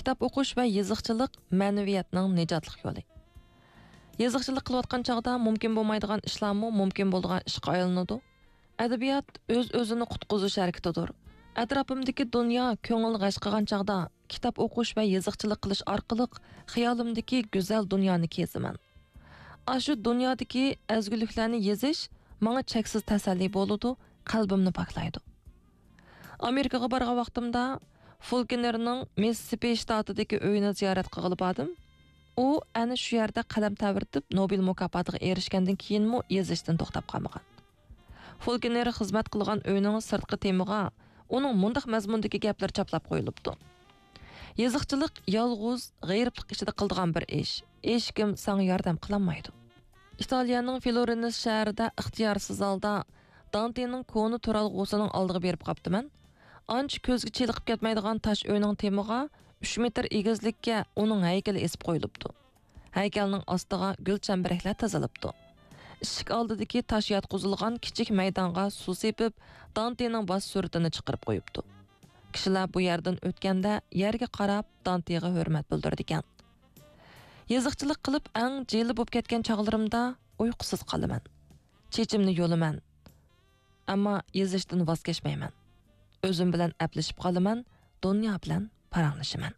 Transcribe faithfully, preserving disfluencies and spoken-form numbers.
كىتاب ئوقۇش ۋە يېزىقچىلىق مەنىۋىيەتنىڭ نىجاتلىق يولى. يېزىقچىلىق قىلىۋاتقان چاغدا مۇمكىن بولمايدىغان ئىشلارمۇ مۇمكىن بولىدىغان ئىشقا ئايلىنىدۇ. ئەدەبىيات ئۆز-ئۆزىنى قۇتقۇزۇش ھەرىكىتىدۇر. ئەتراپىمدىكى دۇنيا كۆڭۈل غەش قىلغان چاغدا كىتاب ئوقۇش ۋە يېزىقچىلىق قىلىش ئارقىلىق خىيالىمدىكى گۈزەل دۇنيانى كېزىمەن. ئاشۇ دۇنيادىكى ئەزگۈلۈكلەرنى يېزىش ماڭا چەكسىز تەسەللى بولىدۇ، قەلبىمنى پاكلايدۇ. ئامېرىكىغا بارغان ۋاقتىمدا فولكنېرنىڭ مىسسىسىپى شتاتىدىكى ئۆيىنى زىيارەت قىلغىلى باردىم. ئۇ ئەنە شۇ يەردە قەلەم تەۋرىتىپ، نوبېل مۇكاپاتىغا ئېرىشكەندىن كېيىنمۇ يېزىشتىن توختاپ قالمىغان. فولكنېر خىزمەت قىلغان ئۆينىڭ سىرتقى تېمىغا ئۇنىڭ مۇنداق مەزمۇندىكى گەپلىرى چاپلاپ قويۇلۇپتۇ: «يېزىقچىلىق يالغۇز، غېرىبلىق ئىچىدە قىلىدىغان بىر ئىش. ھېچكىم ساڭا ياردەم قىلالمايدۇ.» ئىتالىيەنىڭ فلورېنس شەھىرىدە ئىختىيارسىز ھالدا دانتېنىڭ كونا تۇرالغۇسىنىڭ ئالدىغا بېرىپ قاپتىمەن. ئانچە كۆزگە چېلىقىپ كەتمەيدىغان تاش ئۆينىڭ تېمىغا ئۈچ مېتىر ئېگىزلىككە ئۇنىڭ ھەيكىلى ئېسىپ قويۇلۇپتۇ. ھەيكەلنىڭ ئاستىغا گۈل چەمبىرەكلەر تىزىلىپتۇ. ئىشىك ئالدىدىكى تاش ياتقۇزۇلغان كىچىك مەيدانغا سۇ سېپىپ، دانتېنىڭ باش سۈرىتىنى چىقىرىپ قويۇپتۇ. كىشىلەر بۇ يەردىن ئۆتكەندە يەرگە قاراپ دانتېغا ھۆرمەت بىلدۈرىدىكەن. يېزىقچىلىق قىلىپ ئەڭ جىلە بولۇپ كەتكەن چاغلىرىمدا ئۇيقۇسىز قالىمەن. چېچىمنى يۇلىمەن. ئەمما يېزىشتىن ۋاز كەچمەيمەن. ئۆزۈم بىلەن ئەپلىشىپ قالىمەن، دۇنيا بىلەن پاراڭلىشىمەن.